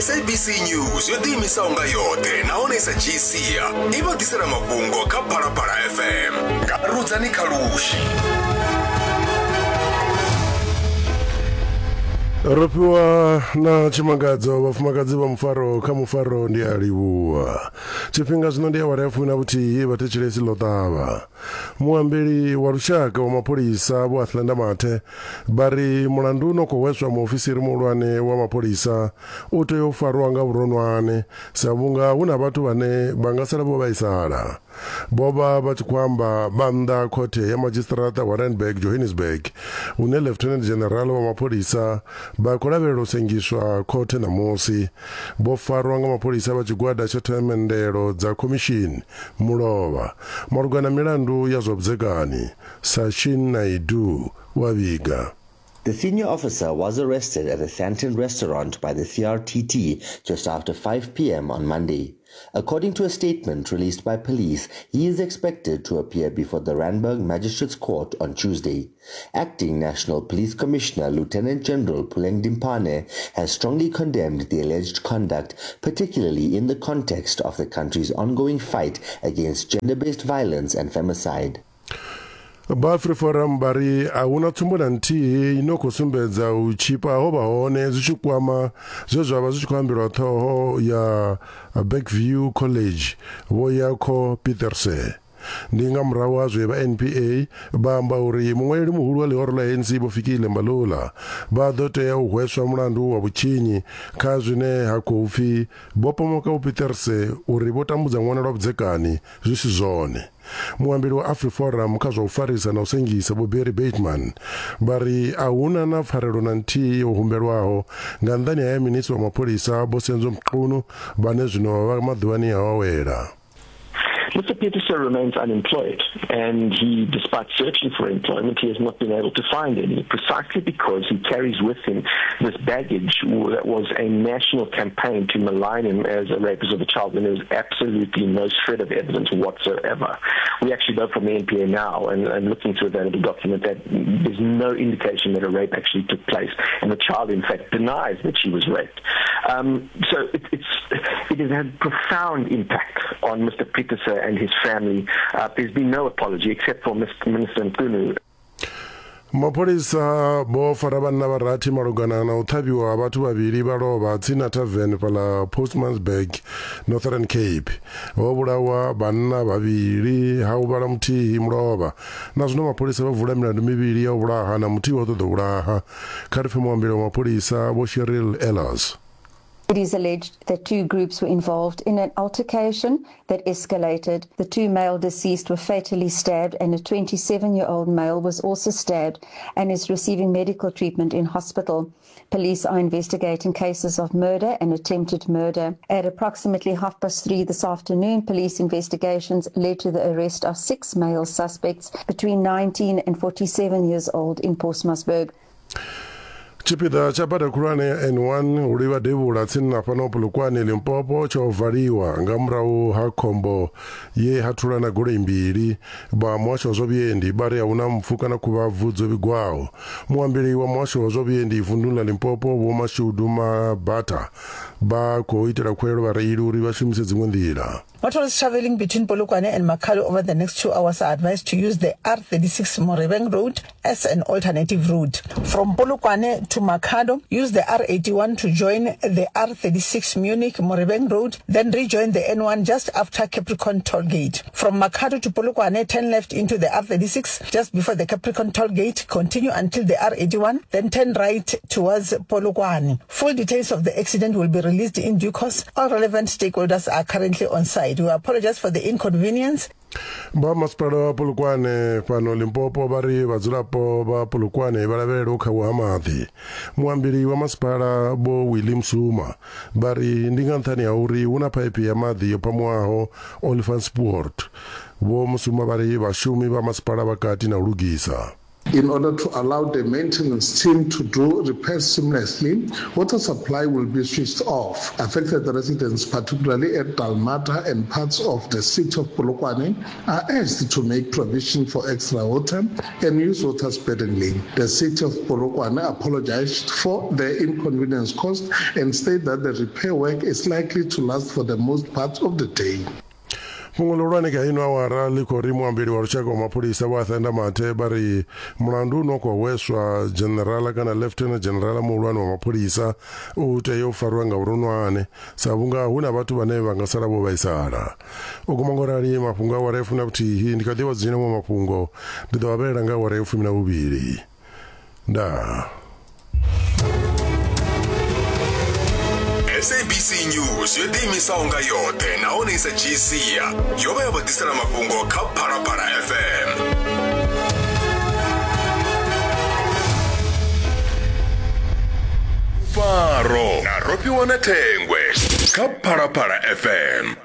SABC News yo ḓiimisaho nga yoṱhe nahone i sa dzhii sia i vha ḓisela mafhungo kha Phalaphala FM nga Rudzani Khalushi. Ro fhiwa na tshimangadzo vhafumakadzi vha mufaro kha mufaro ndi a livhuwa. Tshifhinga zwino ndi awara ya fumi na vhuthihi vhathetshelesi ḽo ṱavha. Muambeli wa lushaka wa mapholisa Vho Athlenda Mathe vha ri mulandu no khou hweswa muofisiri muhulwane wa mapholisa u tea u farwa nga vhuronwane sa vhunga hu na vhathu vhane vha nga sala vho vhaisala. Vho vha vha tshi khou amba vha nnḓa ha khothe ya madzhisiṱiraṱa wa Randburg, Johannesburg, hune Lieutenant General wa mapholisa vha khou lavhelela u sengiswa khothe ṋamusi. Vho farwa nga mapholisa vha tshigwada tsha themendelo dza khomishini mulovha malugana na milandu ya zwa vhudzekani, Sachin Naidu wa vhiga. The senior officer was arrested at the Sandton restaurant by the CRTT just after 5 p.m. on Monday. According to a statement released by police, he is expected to appear before the Randburg Magistrates Court on Tuesday. Acting National Police Commissioner Lieutenant General Puleng Dimpane has strongly condemned the alleged conduct, particularly in the context of the country's ongoing fight against gender-based violence and femicide. Vha AfriForum vha ri a huna tsumbo na nthihi ino khou sumbedza u tshipa ho vha hone zwi tshi kwama zwe zwa vha zwi tshi khou ambelwa ṱhoho ya Bergview College Vho Jaco Pieterse. Ndi nga murahu ha zwe vha NPA vha amba uri muṅwaleli muhulu wa ḽihoro ḽa ANC Vho Fikile Mbalula vha ḓo tea u hweswa mulandu wa vhutshinyi kha zwine ha khou pfi vho pomoka Vho Pieterse uri vho tambudza ṅwana lwa vhudzekani zwi si zwone. Muambeli wa AfriForum kha zwa u farisa na u sengisa Vho Barry Bateman vha ri a hu na na pfarelo na nthihi yo humbelwaho nga nnḓani ha ya minisi wa mapholisa Vho Senzo Mchunu vhane zwino vha maḓuvhani a u awela. Mr. Pieterse remains unemployed, and he, despite searching for employment, he has not been able to find any, precisely because he carries with him this baggage that was a national campaign to malign him as a rapist of a child when there was absolutely no shred of evidence whatsoever. We actually know from the NPA now, and, and looking through available document, that there's no indication that a rape actually took place, and the child, in fact, denies that she was raped. Um, so it, it's, it has had profound impact on Mr. Pieterse and his family. Uh, there's been no apology except for Mr. Minister Nkunu. Mapholisa vho fara vhanna vha rathi malugana na u ṱhavhiwa ha vhathu vhavhili vha lovha tsini na tavern fhaḽa Postmasburg, Northern Cape. Ho vhulawa vhanna vhavhili ha huvhala muthihi mulovha. Na zwino mapholisa vho vula milandu mivhili ya u vhulaha na muthihi wa u ṱoḓa u vhulaha. Kha ri pfe muambeli wa mapholisa Vho Cheryl Ehlers. It is alleged that two groups were involved in an altercation that escalated. The two male deceased were fatally stabbed, and a 27 year old male was also stabbed and is receiving medical treatment in hospital. Police are investigating cases of murder and attempted murder. At approximately half past three this afternoon, police investigations led to the arrest of six male suspects between 19 and 47 years old in Postmasburg. Tshipiḓa tsha bada khulwane ya N1 u livha devhula tsini na fhano Polokwane Limpopo tsho valiwa nga murahu ha khombo ye ha thulana goloi mbili. Vha muhasho wa zwa vhuendi vha ri ahuna mpfu kana khuvhabvu dzo vhigwaho. Muambeli wa muhasho wa zwa vhuendi vunduni ḽa Limpopo Vho Mashudu Mabatha vha khou itela khuwelelo vhareili uri vha shumise dziṅwe nḓila. Motorists traveling between Polokwane and Makhado over the next two hours are advised to use the R36 Morebeng Road as an alternative route. From Polokwane to Makhado, use the R81 to join the R36 Munich Morebeng Road, then rejoin the N1 just after Capricorn Toll Gate. From Makhado to Polokwane, turn left into the R36 just before the Capricorn Toll Gate, continue until the R81, then turn right towards Polokwane. Full details of the accident will be released in due course. All relevant stakeholders are currently on site. We apologize for the inconvenience. Vha masipala wa Polokwane fhano Limpopo vha ri vhadzulapo vha Polokwane vha lavhelele u khauwa ha maḓi. Muambeli wa masipala Vho Willie Msuma vha ri ndi nga nṱhani ha uri hu na phaiphi ya maḓi yo phamuwaho Olifantspoort. Vho Msuma vha ri vhashumi vha masipala vha kati na u lugisa. In order to allow the maintenance team to do repairs seamlessly, water supply will be switched off. Affected residents, particularly at Dalmata and parts of the city of Polokwane, are urged to make provision for extra water and use water sparingly. The city of Polokwane apologized for the inconvenience caused and stated that the repair work is likely to last for the most part of the day. Fhungo ḽihulwane kha ino awara ḽi khou ri muambeli wa lushaka wa mapholisa Vho Arthur Mathe vha ri mulandu une wa khou hweswa dzhenerala kana Lieutenant General muhulwane wa mapholisa u tea u farwa nga vhuronwane sa vhunga hu na vhathu vhane vha nga sala vho vhaisala. U guma ngo rali mafhungo a awara ya fumi na vhuthihi ndi kha ḓi vha dzudzanyela maṅwe mafhungo ndi ḓo vha vhalela nga awara ya fumi na vhuvhili. Ndaa. SABC News yo ḓiimisaho nga yoṱhe nahone i sa dzhii sia yo vha ya vha ḓisela mafhungo kha Phalaphala FM. Faro na Rofhiwa na Thengwe kha Phalaphala FM.